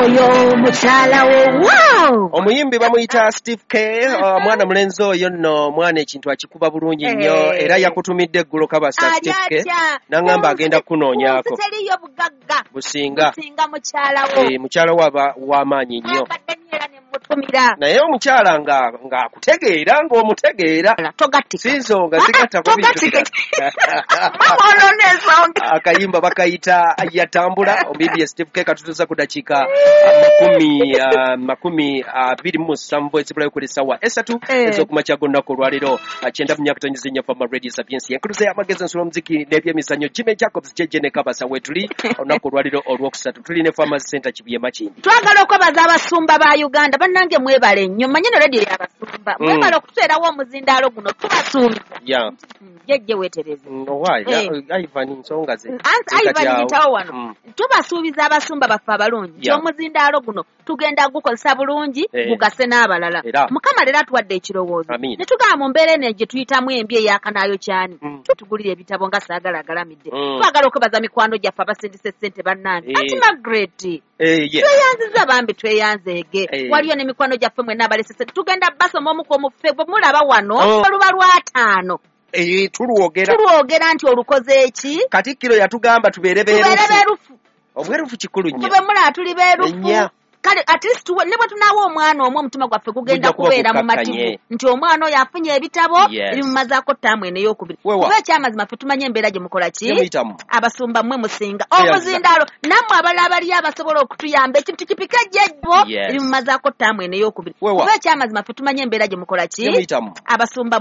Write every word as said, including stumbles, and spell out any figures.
Oyo mukyala wo, wow! Omuyimbi bamuyita Steve K, uh, mwana mulenzi oyo nno mwana ekintu akikuba bulungi nnyo, Eh. era yakutumidde eggulo Kabasa. Ali Steve K atya? n'aŋŋamba Ku agenda nsi- kunoonyaako. ku nsi teriyo bugagga businga businga mukyala wo. Eh, mukyala we aba w'amaanyi nnyo. Abadde nnyo era ne mutumira. Naye omukyala nga ng'akutegeera, ng'omutegeera. Togattika. Si nsonga sigattako bintu. Togattika. Mama, olwo n'ensonga. Akayimba bakayita Yatambula, omuyimbi ye Steve K. Katutuusa ku dakiika makumi ah, makumi abiri mu musanvu ezibulayo kuli ssaawa esatu Eh. ez'okumakya g'olunaku olwaleero, ah, kyenda mu myaka tonyizi nnyo Fama Radio Sapiensi, enkuluze y'amagezi, ensula, omuziki n'ebyemizannyo. Jimmy Jacobs Jeje ne Kabasa wetuli olunaku olwaleero olwokusatu, tuli ne Farmers Center Kibuye Makindi. Twagala okwebaza abasumba ba Uganda. Bannange, mwebale nnyo. Manye no rediyo y'abasumba. Mm. Mwebale okututeerawo omuzindaalo guno, tubasuubiza. Ya. Jejje, weetereze. Mm, owaayi. Eh. Ivan, nsonga ze Ansi zikati Ivan awo. yitawo wano. Mm. Tubasuubiza abasumba baffe abalungi nti Yeah. omuzindaalo guno tugenda gukozesa bulungi, Eh. gugase n'abalala. Era. Mukama leero atuwadde ekirowoozo Amiina. ne tugamba mu mbeera eno gye tuyitamu embi eyakanaayo kyani, Mm. tutugulira ebitabo nga saagala agalamidde. Mm. Twagala okwebaza mikwano gyaffe abasindisa essente. Bannange, Eh. anti Margaret, Eh, yes. tweyanziza bambi, tweyanzeege. Eh. Waliyo n'emikwano gyaffe mwenna abalese ssente, tugenda basoma omu ku omufe bwe mulaba wano. Oh. Oluba lwataano. Eh, tulwogera. Tulwogera nti olukoze eki? Katikkiro yatugamba tubeere tubeere beerufu. beerufu. Obwerufu kikulu nnyo. Tube mulaba tuli beerufu. Enya. Kale at least we- ne bwe tunaawa omwana omu, omutima gwaffe gugenda Gujja kuba kubeera gukkakkanye. mumativu nti omwana oyo afunye ebitabo Yes. ebimumazaako ttaamu eno ey'okubiri. Wewa. Kuba ekyamazima ffe tumanye embeera gye mukola ki. Gyemuyitamu. Abasumba mmwe musinga. Tweyanziza. Omuzindaalo nammwe abalala abaliyo abasobola okutuyamba, ekintu kipika jjejjo Yes. ebimumazaako ttaamu eno ey'okubiri. Wewa. Kuba ekyamazima ffe tumanye embeera gye mukola ki. Gyemuyitamu. Abasumba.